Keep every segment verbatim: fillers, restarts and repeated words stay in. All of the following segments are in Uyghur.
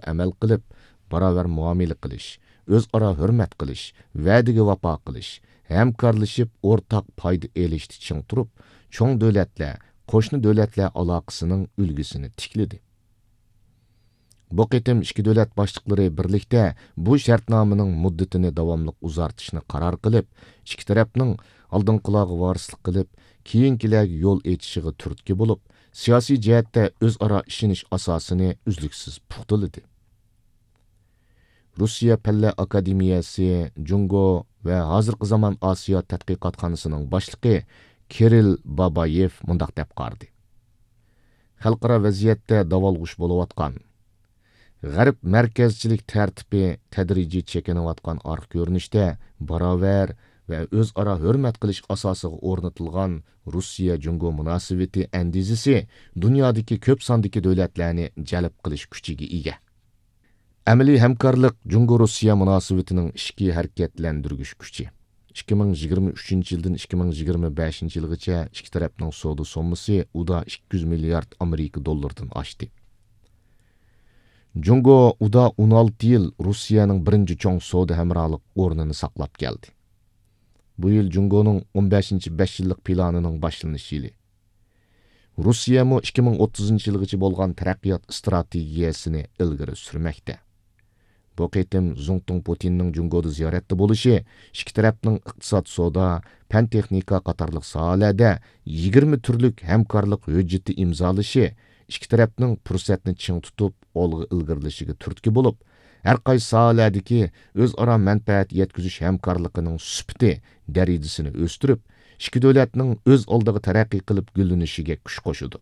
ئەمەل قىلىپ، باراۋەر مۇئامىلە قىلىش، ئۆزئارا ھۆرمەت قىلىش، ۋەدىگە ۋاپا قىلىش، ھەمكارلىشىپ ئورتاق پايدا ئېلىشتا چىڭ تۇرۇپ، چوڭ دۆلەتلەر، قوشنا دۆلەتلەر ئالاقىسىنىڭ ئۈلگىسىنى تىكلىدى. بۇ قېتىم ئىككى دۆلەت باشلىقلىرى بىرلىكتە بۇ شەرتنامىنىڭ مۇددىتىنى داۋاملىق ئۇزارتىشنى قارار قىلىپ، ئىككى تەرەپنىڭ ئالدىنقىلارغا ۋارىسلىق قىلىپ، كېيىنكىلەرگە يول ئېچىشىغا تۈرتكە بولۇپ، سىياسىي جەھەتتە ئۆزئارا ئىشىنىش ئاساسىنى ئۈزلۈكسىز پۇختىلىدى. روسىيە پەنلەر ئاكادېمىيەسى جۇڭگو ۋە ھازىرقى زامان ئاسىيا تەتقىقاتخانىسىنىڭ باشلىقى كىرىل بابايېف مۇنداق دەپ قارىدى: خەلقئارا ۋەزىيەتتە داۋالغۇش بولۇۋاتقان، غەرب مەركەزچىلىك تەرتىپى تەدرىجىي چېكىنىۋاتقان ئارقا كۆرۈنۈشتە باراۋەر ۋە ئۆزئارا ھۆرمەت قىلىش ئاساسىغا ئورنىتىلغان روسىيە جۇڭگو مۇناسىۋىتى ئەندىزىسى دۇنيادىكى كۆپ ساندىكى دۆلەتلەرنى جەلپ قىلىش كۈچىگە ئىگە. ئەمەلىي ھەمكارلىق جۇڭگو روسىيە مۇناسىۋىتىنىڭ ئىچكى ھەرىكەتلەندۈرگۈچ كۈچى. ئىككى مىڭ يىگىرمە ئۈچىنچى يىلدىن ئىككى مىڭ يىگىرمە بەشىنچى يىلغىچە ئىككى تەرەپنىڭ سودا سوممىسى ئۇدا ئىككى يۈز مىليارد ئامېرىكا دوللىرىدىن ئاشتى. جۇڭگو ئۇدا ئون ئالتە يىل روسىيەنىڭ بىرىنچى چوڭ سودا ھەمراھلىق ئورنىنى ساقلاپ كەلدى. بۇ يىل جۇڭگونىڭ ئون بەشىنچى بەش يىللىق پىلانىنىڭ باشلىنىش يىلى. روسىيەمۇ ئىككى مىڭ ئوتتۇزىنچى يىلغىچە بولغان تەرەققىيات ئىستراتېگىيەسىنى ئىلگىرى سۈرمەكتە. بۇ قېتىم زۇڭتۇڭ پۇتىننىڭ جۇڭگودا زىيارەتتە بولۇشى ئىككى تەرەپنىڭ ئىقتىساد، سودا، پەن تېخنىكا قاتارلىق ساھەلەردە يىگىرمە تۈرلۈك ھەمكارلىق ھۆججىتى ئىمزالىشى ئىككى تەرەپنىڭ پۇرسەتنى چىڭ تۇتۇپ ئالغا ئىلگىرىلىشىگە تۈرتكە بولۇپ، ھەر قايسى ساھەلەردىكى ئۆزئارا مەنپەئەت يەتكۈزۈش ھەمكارلىقىنىڭ سۈپىتى، دەرىجىسىنى ئۆستۈرۈپ، ئىككى دۆلەتنىڭ ئۆز ئالدىغا تەرەققىي قىلىپ گۈللىنىشىگە كۈچ قوشىدۇ.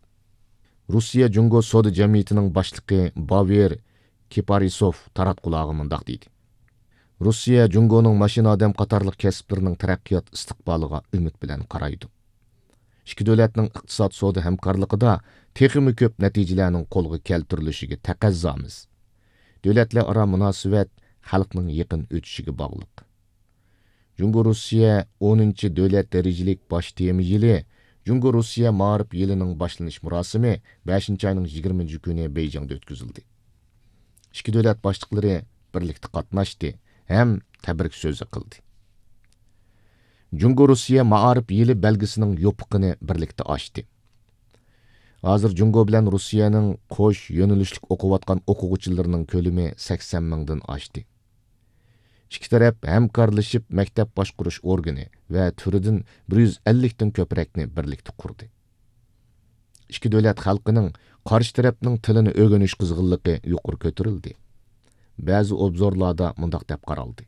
روسىيە جۇڭگو سودا جەمئىيىتىنىڭ باشلىقى باۋېر كىپارىسوف تاراتقۇلارغا مۇنداق دېدى: روسىيە جۇڭگونىڭ ماشىنا ئادەم قاتارلىق كەسىپلىرىنىڭ تەرەققىيات ئىستىقبالىغا ئۈمىد بىلەن قارايدۇ. ئىككى دۆلەتنىڭ ئىقتىساد سودا ھەمكارلىقىدا تېخىمۇ كۆپ نەتىجىلەرنىڭ قولغا كەلتۈرۈلۈشىگە تەقەززامىز. دۆلەتلەر ئارا مۇناسىۋەت خەلقنىڭ يېقىن ئۆتۈشىگە باغلىق. جۇڭگو روسىيە ئونىنچى دۆلەت دەرىجىلىك باش تېما يىلى، جۇڭگو روسىيە مائارىپ يىلىنىڭ باشلىنىش مۇراسىمى بەشىنچى ئاينىڭ يىگىرمىنچى كۈنى بېيجىڭدا ئۆتكۈزۈلدى. ئىككى دۆلەت باشلىقلىرى بىرلىكتە قاتناشتى ھەم تەبرىك سۆزى قىلدى. جۇڭگو روسىيە مائارىپ يىلى بەلگىسىنىڭ يوپۇقىنى بىرلىكتە ئاچتى. ھازىر جۇڭگو بىلەن روسىيەنىڭ قوش يۆنىلىشلىك ئوقۇۋاتقان ئوقۇغۇچىلىرىنىڭ كۆلىمى سەكسەن مىڭدىن ئاشتى. ئىككى تەرەپ ھەمكارلىشىپ مەكتەپ باشقۇرۇش ئورگىنى ۋە تۈرىدىن بىر يۈز ئەللىكتىن كۆپرەكنى بىرلىكتە قۇردى. ئىككى دۆلەت خەلقىنىڭ قارشى تەرەپنىڭ تىلىنى ئۆگىنىش قىزغىنلىقى يۇقىرى كۆتۈرۈلدى. بەزى ئوبزورلاردا مۇنداق دەپ قارالدى: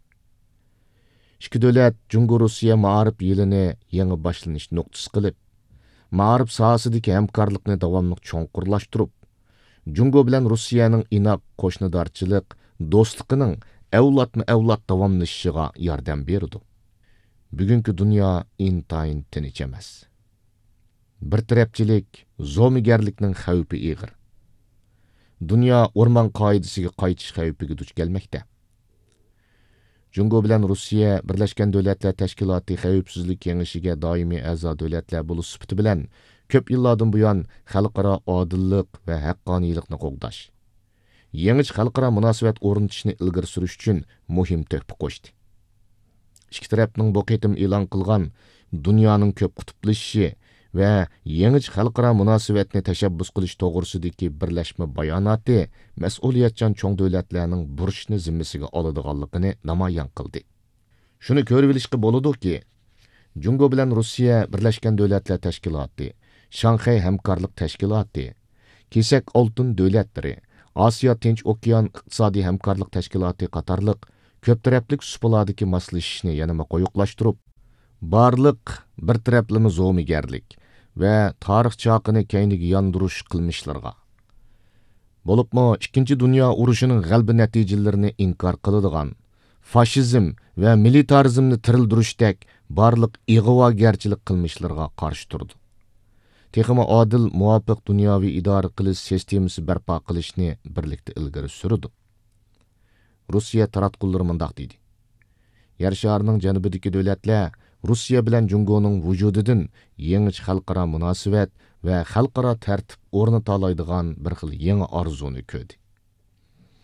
ئىككى دۆلەت جۇڭگو روسىيە مائارىپ يىلىنى يېڭى باشلىنىش نۇقتىسى قىلىپ، مائارىپ ساھەسىدىكى ھەمكارلىقنى داۋاملىق چوڭقۇرلاشتۇرۇپ، جۇڭگو بىلەن روسىيەنىڭ ئىناق قوشنىدارچىلىق دوستلۇقىنىڭ ئەۋلادمۇ ئەۋلاد داۋاملىشىشىغا ياردەم بېرىدۇ. بۈگۈنكى دۇنيا ئىنتايىن تىنچ ئەمەس. بىر تەرەپچىلىك، زومىگەرلىكنىڭ خەۋپى ئېغىر. دۇنيا ئورمان قائىدىسىگە قايتىش خەۋپىگە دۇچ كەلمەكتە. جۇڭگو بىلەن روسىيە بىرلەشكەن دۆلەتلەر تەشكىلاتى خەۋپسىزلىك كېڭىشىگە دائىمىي ئەزا دۆلەتلەر بولۇش سۈپىتى بىلەن، كۆپ يىللاردىن بۇيان خەلقئارا ئادىللىق ۋە ھەققانىيلىقنى قوغداش، يېڭىچە خەلقئارا مۇناسىۋەت ئورنىتىشنى ئىلگىرى سۈرۈش ئۈچۈن مۇھىم تۆھپە قوشتى. ئىككى تەرەپنىڭ بۇ قېتىم ئېلان قىلغان دۇنيانىڭ كۆپ قۇتۇپلىشىشى ۋە يېڭىچە خەلقئارا مۇناسىۋەتنى تەشەببۇس قىلىش توغرىسىدىكى بىرلەشمە باياناتى مەسئۇلىيەتچان چوڭ دۆلەتلەرنىڭ بۇرچنى زىممىسىگە ئالىدىغانلىقىنى نامايان قىلدى. شۇنى كۆرۈۋېلىشقا بولىدۇكى، جۇڭگو بىلەن روسىيە بىرلەشكەن دۆلەتلەر تەشكىلاتى، شاڭخەي ھەمكارلىق تەشكىلاتى، كېسەك ئالتۇن دۆلەتلىرى، ئاسىيا تىنچ ئوكيان ئىقتىسادىي ھەمكارلىق تەشكىلاتى قاتارلىق كۆپ تەرەپلىك سۇپىلاردىكى ماسلىشىشنى يەنىمۇ قويۇقلاشتۇرۇپ، بارلىق بىر تەرەپلىمە زومىگەرلىك ۋە تارىخ چاقىنى كەينىگە ياندۇرۇش قىلمىشلىرىغا، بولۇپمۇ ئىككىنچى دۇنيا ئۇرۇشىنىڭ غەلىبە نەتىجىلىرىنى ئىنكار قىلىدىغان، فاشىزم ۋە مىلىتارىزمنى تىرىلدۈرۈشتەك بارلىق ئىغۋاگەرچىلىك قىلمىشلىرىغا قارشى تۇرىدۇ. تېخىمۇ ئادىل، مۇۋاپىق دۇنياۋى ئىدارە قىلىش سىستېمىسى بەرپا قىلىشنى بىرلىكتە ئىلگىرى سۈرىدۇ. روسىيە تاراتقۇلىرى مۇنداق دېدى: يەر شارىنىڭ جەنۇبىدىكى دۆلەتلەر روسىيە بىلەن جۇڭگونىڭ ۋۇجۇدىدىن يېڭىچە خەلقئارا مۇناسىۋەت ۋە خەلقئارا تەرتىپ ئورنىتالايدىغان بىر خىل يېڭى ئارزۇنى كۆردى.